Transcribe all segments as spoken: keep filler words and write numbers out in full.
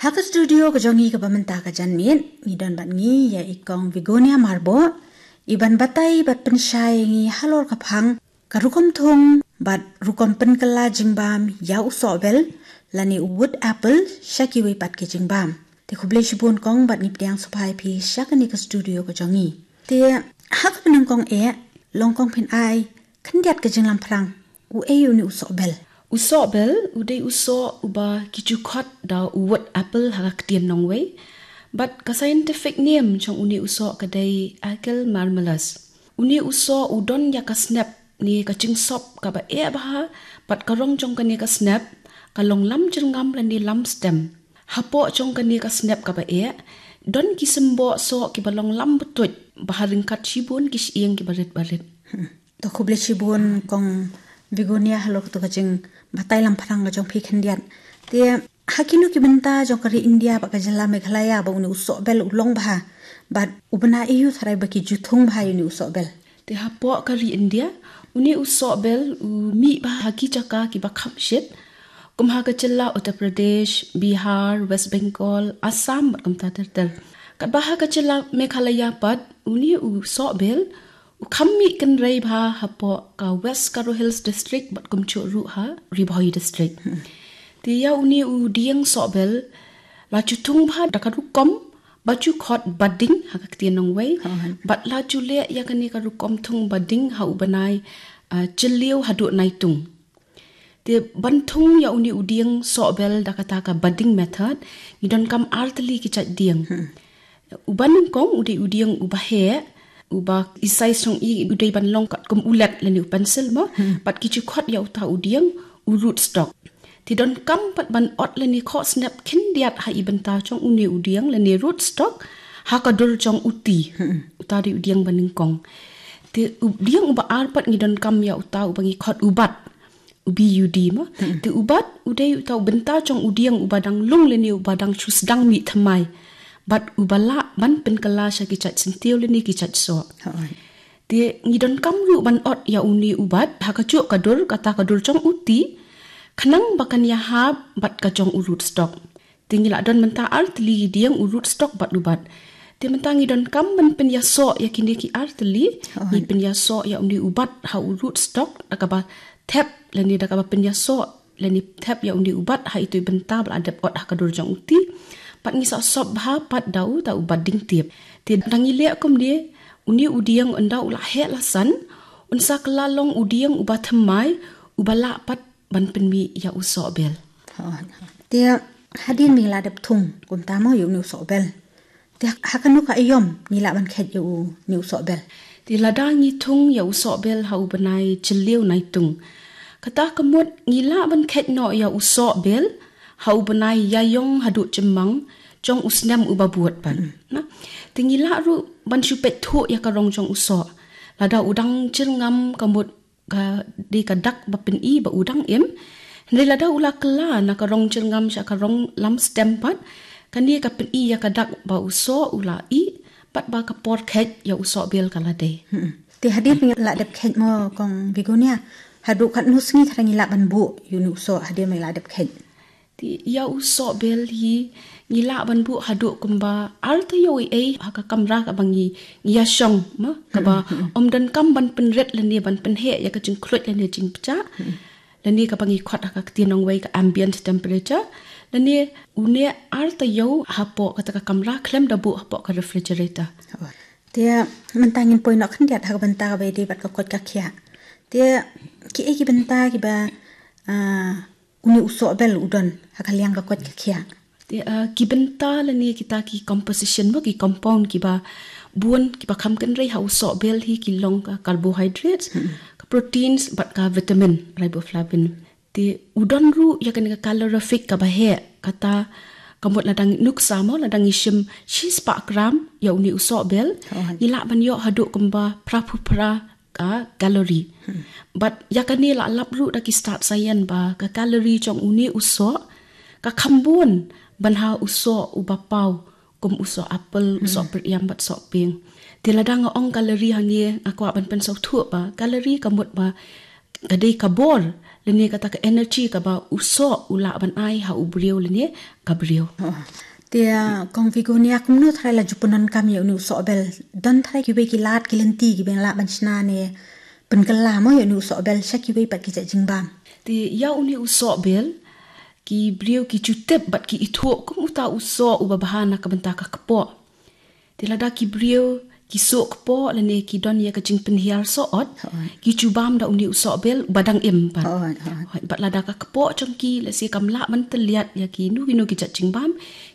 Ha ka studio ka jong ngi kaba mynta ka janmiet, ngi don bad ngi ïa i Kong Vigonia Marbo, i ban batai bad pynshai ngi halor ka phang ka rukom thung bad rukom pynkylla jingbam ïa u sohbel lane u wood apple sha kiwei pat ki jingbam. Te khublei shibun Kong bad ngi pdiang sngewbha ïa phi sha kane ka studio ka jong ngi. Te ha kaba nyngkong eh, long Kong phin ai khyndiat ka jinglamphrang, u ei une u sohbel? U sohbel u dei u soh uba ki ju khot da u wood apple ha ka ktien nongwei. Bad ka scientific name jong une u soh ka dei Aigel marmelis. Une u soh u don ïa ka snep ne ka jingsop kaba eh bha, bad ka rong jong kane ka snep ka long lam jyrngam lane lam stem. Hapoh jong kane ka snep kaba eh, don ki symboh soh kiba long lam btuit, ba ha ryngkat shibun ki shyieng kiba rit ba rit. Hmm. To khublei shibun Kong Vigonia halor kato ka jingbatai lamphrang ka jong phi khyndiat. Te ha kino ki bynta jong ka ri India bad ka jylla Meghalaya ba une u sohbel u long bha, bad u bna aiu tharai ba ki ju thung bha ïa une u sohbel? Te hapoh ka ri India, une u sohbel u mih bha ha ki jaka kiba kham shit, kum ha ka jylla Uttar Pradesh, Bihar, West Bengal, Assam bad kumta ter ter. Katba ha ka jylla Meghalaya pat, une u sohbel u kham mih kynrei bha hapoh ka West Garo Hills District bad kumjuh ruh ha Ri Bhoi District. Hmm. Te ïa une u dieng sohbel la ju thung bha da ka rukom ba ju khot budding ha ka ktien nongwei. Oh. Bad la ju leh ïa kane ka rukom thung budding ha u bnai, ah, Jylliew haduh Naitung. Te ban thung ïa une u dieng sohbel da kata ka budding method, ngi donkam ar tylli ki jait dieng. Hmm. Uba nyngkong u dei u dieng uba heh, uba i size jong i u dei ban long katkum u let lane u pencil mo, hmm, bad ki ju khot ïa uta u dieng u root stock. Te donkam pat ban ot lane khoh snep khyndiat ha i bynta jong une u dieng lane root stock ha ka dur jong u ti. Hmm. Uta dei u dieng ba nyngkong. Te u dieng uba ar pat ngi donkam ïa uta uba ngi khot u bat, u B U D mo. Hmm. Te u bat u dei uta u bynta jong u dieng uba dang lung lane uba dang shu sdang mih thymmai, bad uba lah ban pynkylla sha ki jait syntiew lane ki jait soh. Hooid. Te ngi donkam ruh ban ot ïa une u bat ha kajuh ka dur, kata ka dur jong u ti, khnang ba kan ïahap bad ka jong u root stock. Te ngi la don mynta ar tylli ki dieng, u root stock bad u bat. Te mynta ngi donkam ban pynïasoh ïa kine ki ar tylli. Hooid. Ngi pynïasoh ïa une u bat ha u root stock da kaba thep lane da kaba pynïasoh lane thep ïa une u bat ha itu i bynta ba la dep ot ha ka dur jong u ti. Bad ngi sa sop bha pat da uta u budding tip. Te da ngi leh kumne, une u dieng ynda u la heh la san, un sa kylla long u dieng uba thymmai, uba lah pat ban pynmih ïa u sohbel. Hooid. Te hadien ba ngi la dep thung kumta mo ïa une u sohbel, te ha kano ka aïom ngi lah ban kheit ïa une u sohbel? Te lada ngi thung ïa u sohbel ha u bnai Jylliew Naitung, kata ka mut ngi lah ban kheit noh ïa u sohbel ha u bnai Ïaiong haduh Jymmang jong u snem uba bud pat. Hmm. Na, te ngi lah ruh ban shu peit thuh ïa ka rong jong u soh. Lada u dang jyrngam ka mut ka dei ka dak ba pyni ba u dang im. Hynrei lada u la kylla na ka rong jyrngam sha ka rong lam stem pat, kane ka pyni ïa ka dak ba u soh u la ih, bad ba ka por kheit ïa u sohbel ka la dei. Hmm. Te hadien ba ngi la dep kheit mo Kong Vigonia, haduh katno sngi kata ngi lah ban buh ïa une u soh hadien ba ngi la dep kheit? Te ïa u sohbel hi ngi lah ban buh haduh kumba ar taïew ei ei ha ka kamra kaba ngi, ngi ïashong mo, kaba, hmm, hmm, ym donkam ban pynrit lane ban pynheh ïa ka jingkhluit lane jingpjah. Hmm. Lane kaba ngi khot ha ka ktien nongwei ka ambient temperature. Lane une ar taïew hapoh kata ka kamra khlem da buh hapoh ka refrigerator. Te mynta ngin poi noh khyndiat ha ka bynta kaba ïadei bad ka koit ka khiah. Te kiei ki bynta kiba, ah, une u sohbel u don ha ka liang ka koit ka khiah? Te, ah, ki bynta lane kita ki composition mo, ki compound kiba bun kiba kham kynrei ha u sohbel hi ki long ka carbohydrates, hmm, ka proteins bad ka vitamin riboflavin. Te u don ruh ïa kane ka calorific kaba heh, kata ka mut lada ngi nuksa mo, lada ngi shim shispah gram ïa une u sohbel, oh, ngi lah ban ïoh haduh kumba phra phew phra ka calorie. Hmm. Bad ïa kane la lap ruh da ki stad science ba ka calorie jong une u soh ka kham bun ban ha u soh uba paw, kum u soh apple, u soh, hmm, pyrïam bad soh pieng. Te lada nga ong calorie hangne nga kwah ban pynsngewthuh ba calorie ka mut ba ka dei ka bor lane kata ka energy kaba u soh u lah ban ai ha u briew lane ka briew. Oh. Te, ah, Kong Vigonia, kumno tharai la ju pyndonkam ïa une u sohbel? Don tharai kiwei ki lad ki lynti kiba lah ban shna ne pynkylla mo ïa une u sohbel sha kiwei pat ki jait jingbam? Te ïa une u sohbel, ki briew ki ju tip bad ki ithuh kum uta u soh uba bha na ka bynta ka kpoh. Te lada ki briew ki soh kpoh lane ki don ïa ka jingpynhiar soh ot, ki ju bam da une u sohbel uba dang im pat. Bad lada ka kpoh jong ki lehse kam lah ban tylliat ïa kino kino ki jait jingbam,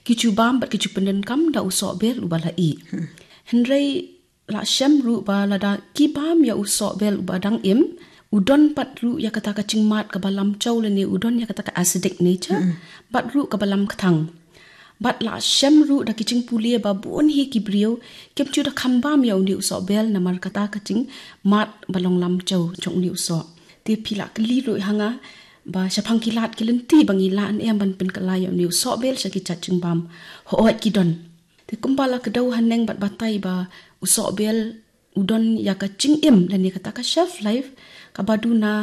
ki ju bam bad ki ju pyndonkam da u sohbel uba la ih. Hynrei la shem ruh ba lada ki bam ïa u sohbel uba dang im, u don pat ruh ïa kata ka jingmad kaba lamjaw lane u don ïa kata ka acidic nature, bad ruh kaba lamkthang. Bad la shem ruh da ki jingpule ba bun hi ki briew kim ju da kham bam ïa une u sohbel namar kata ka jingmad ba long lamjaw jong une u soh. Te phi la kylli ruh ha nga ba shaphang ki lad ki lynti ba ngi lah ne em ban pynkylla ïa une u sohbel sha ki jait jingbam. Hooid ki don. Te kumba la kdew haneng bad batai ba u sohbel u don ïa ka jingim lane kata ka shelf life kaba duna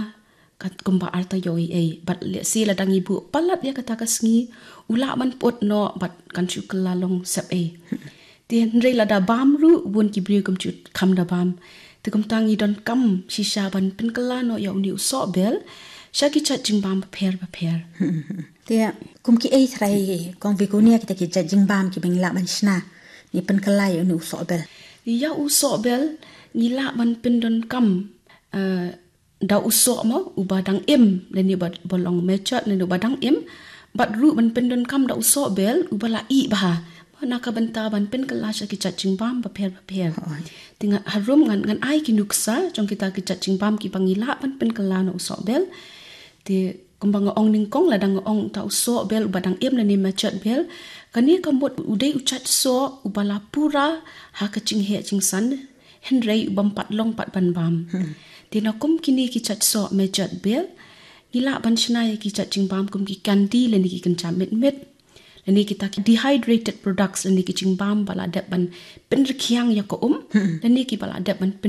kat kumba arta ïoh ei ei. Bad lehse lada ngi buh palat ïa kata ka sngi, u lah ban put noh bad kan shu kylla long sep ei. Te hynrei lada bam ruh bun ki briew kim ju kham da bam. Te kumta ngi donkam shisha ban pynkylla noh ïa une u sohbel sha ki jait jingbam bapher bapher. Te kum kiei tharai Kong Vigonia kita ki jait jingbam kiba ngi lah ban shna ne pynkylla ïa une u sohbel? Ïa u sohbel ngi lah ban pyndonkam, eh, da u soh mo uba dang im lane uba, uba long matured lane uba dang im, bad ruh ban pyndonkam da u sohbel uba la ih bha. Mo na ka bynta ban pynkylla sha ki jait jingbam bapher bapher. Te ngan harum ngan, ngan ai ki nuksa jong kita ki jait jingbam kiba ngi lah ban pynkylla na u sohbel. Te kumba nga ong nyngkong, lada nga ong uta u sohbel uba dang im lane matured bel, kane ka mut u dei u jait soh uba la pura ha ka jingheh jingsan, hynrei u bym pat long pat ban bam. Te na kum kine ki jait soh matured bel, ngi lah ban shna ïa ki jait jingbam kum ki candy lane ki kynja mitmit, lane kita ki dehydrated products lane ki jingbam ba la dep ban pynrkhiang ïa ka um, lane kiba la dep ban pyn